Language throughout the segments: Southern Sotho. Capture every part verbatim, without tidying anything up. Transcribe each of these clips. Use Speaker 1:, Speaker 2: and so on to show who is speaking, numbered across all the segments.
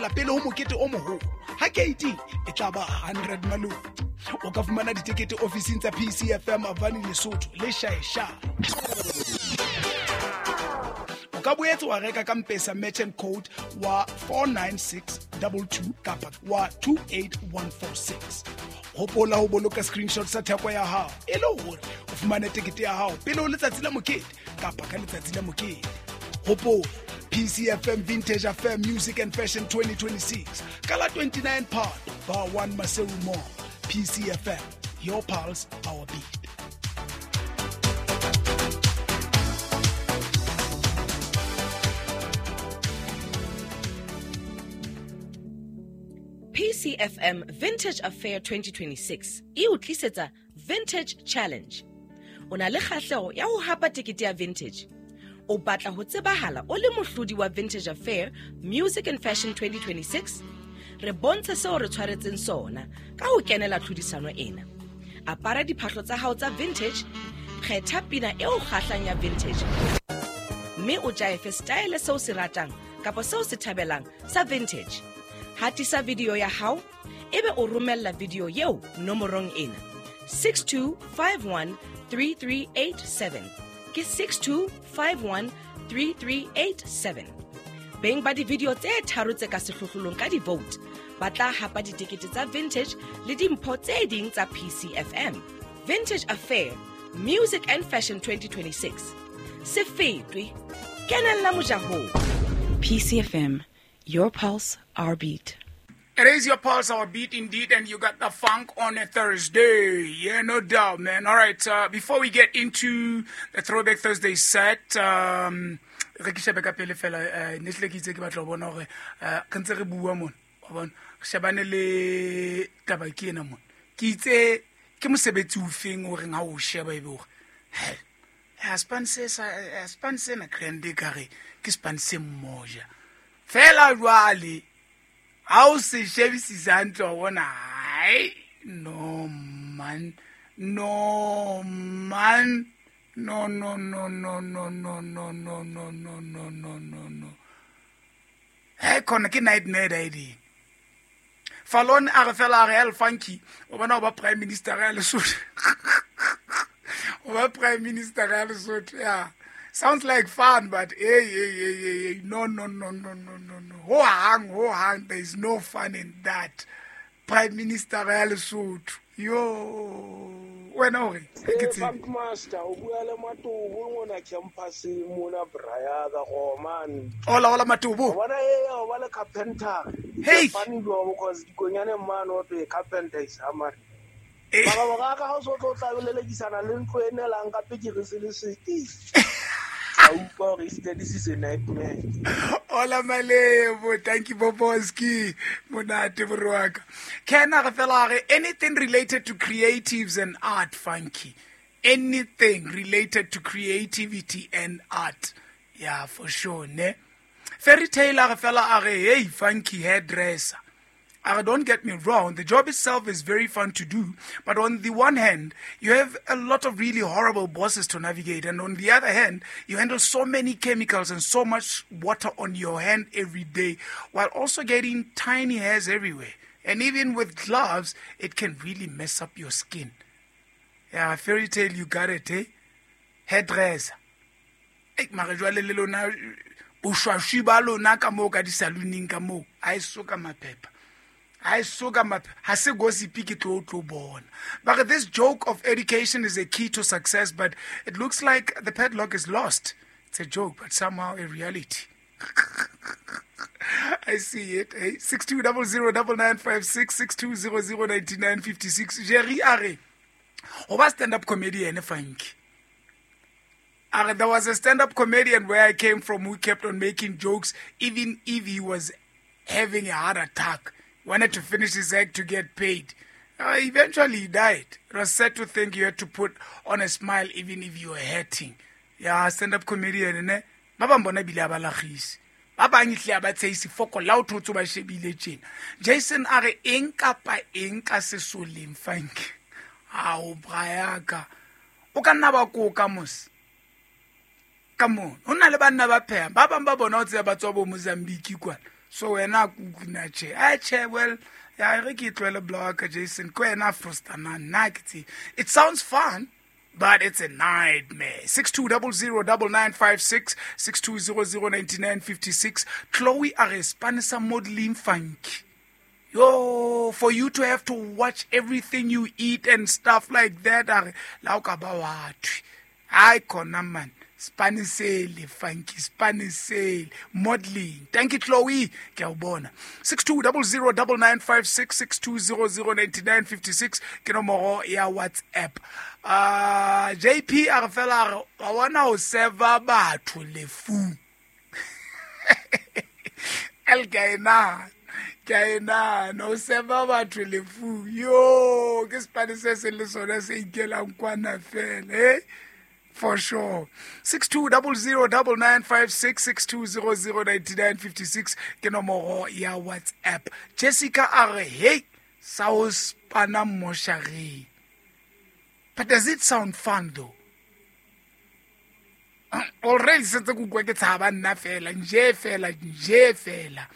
Speaker 1: feela pele ho mokete o moholo. Ha keiting e tla ba hundred malome. O ka fumana ditekete ofising tsa P C F M Avani Lesotho le Shaesha. O ka boetse wa reka ka M-Pesa merchant code wa four nine six two two kapa wa two eight one four six. Hopola ho boloka screenshot sa theko ya hao e le hore o fumane tekete ya hao pele ho letsatsi la mokete kapa ka letsatsi la mokete. Hopola P C F M Vintage Affair Music and Fashion twenty twenty-six ka la twenty-nine Phato Bar one Maseru Mall. P C F M, your pulse, our beat.
Speaker 2: P C F M Vintage Affair twenty twenty-six e o tlisetsa Vintage Challenge. O na le kgahleho ya ho hapa tekete ya Vintage. O batla ho tsebahala o le mohlodi wa Vintage Affair Music and Fashion twenty twenty-six? Re bontshe seo re tshwaretseng sona ka ho kenela tlhodisano ena. Apara diphahlo tsa hao tsa vintage, kgetha pina e o kgahlang ya vintage, mme o jaefe style seo se ratang kapa seo se thabelang sa vintage. Hatisa video ya hao ebe o romella video eo nomorong ena six two five one three three eight seven. Ke six two five one three three eight seven. Beng ba di-video tse tharo tse ka sehlohlolong ka di-vote ba tla hapa ditekete tsa vintage le dimpho tse ding tsa P C F M. Vintage Affair Music and Fashion twenty twenty-six. Se fetwe, kenella mojahong.
Speaker 3: P C F M, your pulse, our beat.
Speaker 1: It is your pulse, our beat indeed, and you got the funk on a Thursday. Yeah, no doubt, man. All right, uh, before we get into the Throwback Thursday set, um, re ke shebe ka pele fela, eh, ne tle ke itse ke batla ho bona hore, eh, re ntse re bua mona, wa bona, re shebane le taba ke ena mona. Ke itse ke mosebetsi o feng o reng ha o sheba ebe hore, he, ha span se sa, ha span se na grande ka re, ke span se mmoja. Fela jwale, ha o se shebisisa hantle wa bona, hai, no man, no man. No, no, no, no, no, no, no, no, no, no, no, no, no, no. Hey, khona ke nightmare idea. Fallon a re fela a re El Funky, o bona o ba prime minister ya Lesotho. O ba prime minister ya Lesotho, yeah. Sounds like fun, but hey, hey, hey, hey, hey, no, no, no, no, no, no, no. Ho hang, ho hang, there is no fun in that. Prime Minister ya Lesotho. Yo. Wena o re ke tsebe.
Speaker 4: Funk Master o bua le Matobo mona campus mona Braya ka Gomane.
Speaker 1: Hola hola Matobo.
Speaker 4: Bona e o ba le carpenter.
Speaker 1: Hey.
Speaker 4: Funny go because dikonyane man o te carpenter is hammer. Ba ba ba ka ha o so tlo tla lelekisana le ntlo e nelang ka pekere se le sete. A utlwa hore this is a nightmare.
Speaker 1: Hola Malebo, thank you Boboski. Monate borwaka. Ken a re fela re anything related to creatives and art, Funky. Anything related to creativity and art. Yeah, for sure, ne? Fairy Tale a re fela a re hey Funky hairdresser. Uh, don't get me wrong, the job itself is very fun to do, but on the one hand, you have a lot of really horrible bosses to navigate, and on the other hand, you handle so many chemicals and so much water on your hand every day, while also getting tiny hairs everywhere. And even with gloves, it can really mess up your skin. Yeah, Fairy Tale, you got it, eh? Hairdresser. Hey, mara jwale le lona, boshwashi ba lona ka moo ka di-salooning ka moo, ha e so ka maphepha. I saw ha se gossip ke tlo tlo bona. But this joke of education is a key to success, but it looks like the padlock is lost. It's a joke, but somehow a reality. I see it. Hey, six two zero zero nine nine five six, six two zero zero nine nine five six. Jerry Are. Oba stand-up comedian, Funky. Are, there was a stand-up comedian where I came from who kept on making jokes even if he was having a heart attack. Wanted to finish his act to get paid. Uh, eventually he died. It was sad to think you had to put on a smile even if you were hurting. Yeah, stand-up comedian, ne? Ba bang bona bile ba lagise. Ba bang ihle ba tsheisi foko la o thotse ba shebile tjena. Jason a re eng kapa eng ka sesoleng Funk. Ao brayaka. O ka nna ba koka mos. Ka mo. Ho na le banna ba pheha. Ba bang ba bona o tseba ba tswa bo Mozambique kwana. So wena kuna che. A che well ya re ke tlohele block Jason ke wena frustana nna ke tse. It sounds fun, but it's a nightmare. six two zero zero nine nine five six, six two zero zero nine nine five six. Chloe a re spanisa modeling funky. Yo, for you to have to watch everything you eat and stuff like that. Are la o ka ba wa thwe. Ai khona man. Spanisele, funky, spanisele, modeling. Thank you, Chloe. Ke a o bona. six two zero zero nine nine five six, six two zero zero nine nine five six. Ke nomoro ya WhatsApp. Uh, J P a re fela a re, wa bona ho serva batho lefu. El ke a e nahana. Ke a e nahana, ho serva batho lefu. Yo, ke Spanish se le sona se ikelang kwana fela, eh? For sure. six two zero zero nine nine five six, six two zero zero nine nine five six. Ke nomoro ya WhatsApp. Jessica a re, hey, sa ho spana moshareng. But does it sound fun though? Already sentse ke utlwa ke tshaba nna fela, nje fela, nje fela.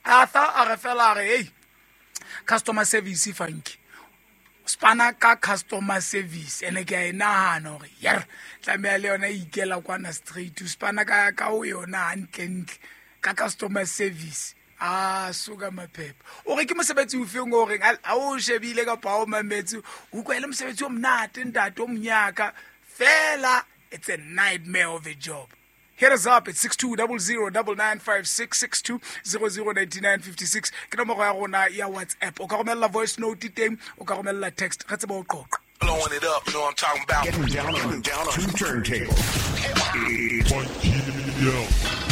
Speaker 1: Arthur a re fela a re, hey, customer service funky. Spana ka customer service ene ke a e nahana hore yer tlameha le yona e ikela kwana straight. Spana ka ka o yona hantlentle ka customer service. Ah, suka maphepha. O re ke mosebetsi o feng o reng a o shebile kapa o mametse o utlwa e le mosebetsi o monate ntate o monyaka fela. It's a nightmare of a job. Hit us up at six two zero zero nine nine five six, six two zero zero nine nine five six. Ke nomoro ya rona ya WhatsApp. O ka romella voice note teng, o ka romella text. Re tsebe ho qoqa.
Speaker 5: Blowing it up, you know what I'm talking about.
Speaker 6: Getting down on, down on two turntables. It's